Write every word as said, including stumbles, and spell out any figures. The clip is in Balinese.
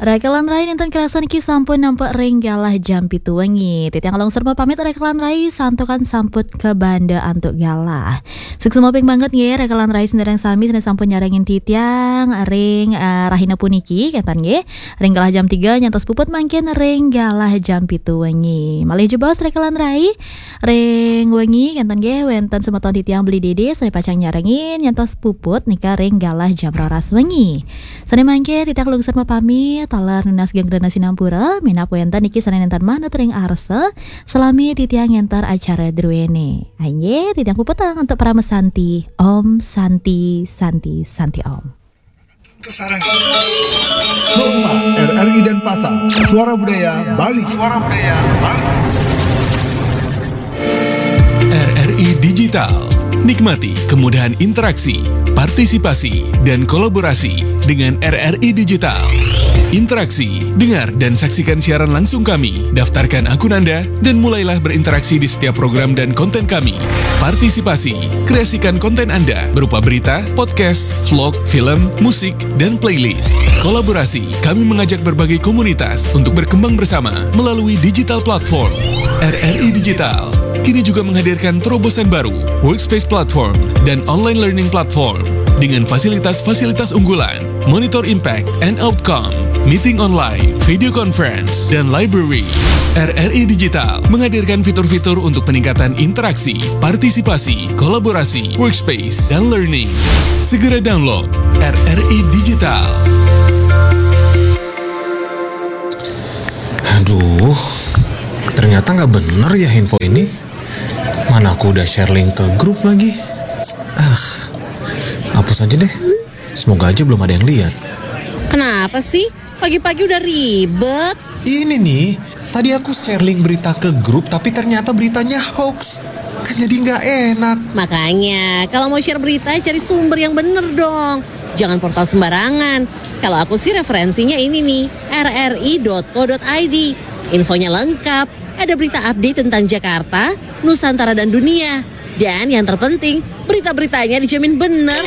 Rekan rai, nénten kerasa niki sampun nampek ring galah jam pitu wengi. Titiang lungsur mapamit rekan rai, santukan sampun kabanda antuk galah. Suksma ping banget nggih rekan rai, sinareng sami sané sampun nyarengin titiang ring, eh, rahina puniki, kénten nggih. Ring galah jam tiga nyantos puput mangkin ring galah jam pitu wengi. Malih jebos rekan rai, ring wengi kénten nggih wénten semeton titiang Beli Dede sané pacang nyarengin nyantos puput nika ring galah jam roras wengi. Sané mangke titiang lungsur mapamit, taler nunas geng rena sinampura, minab wénten niki sané nénten manut ring arsa, salami titiang ngénter acara druéné. Inggih, titiang puputang antuk parama santi. Om Santi, Santi, Santi Om. Sarang. Hormat, R R I Denpasar, Suara Budaya Bali. Suara Budaya Bali. R R I Digital. Nikmati kemudahan interaksi, partisipasi, dan kolaborasi dengan R R I Digital. Interaksi, dengar dan saksikan siaran langsung kami. Daftarkan akun Anda dan mulailah berinteraksi di setiap program dan konten kami. Partisipasi, kreasikan konten Anda berupa berita, podcast, vlog, film, musik, dan playlist. Kolaborasi, kami mengajak berbagai komunitas untuk berkembang bersama melalui digital platform. R R I Digital kini juga menghadirkan terobosan baru, Workspace Platform dan Online Learning Platform, dengan fasilitas-fasilitas unggulan, Monitor Impact and Outcome, Meeting Online, Video Conference, dan Library. R R I Digital menghadirkan fitur-fitur untuk peningkatan interaksi, partisipasi, kolaborasi, workspace, dan learning. Segera download R R I Digital. Aduh, ternyata nggak bener ya info ini. Mana aku udah share link ke grup lagi. Ah, hapus aja deh. Semoga aja belum ada yang lihat. Kenapa sih? Pagi-pagi udah ribet. Ini nih, tadi aku share link berita ke grup tapi ternyata beritanya hoax. Kan jadi nggak enak. Makanya, kalau mau share berita, cari sumber yang bener dong. Jangan portal sembarangan. Kalau aku sih referensinya ini nih, R R I dot co dot I D. Infonya lengkap, ada berita update tentang Jakarta, Nusantara dan dunia. Dan yang terpenting, berita-beritanya dijamin bener.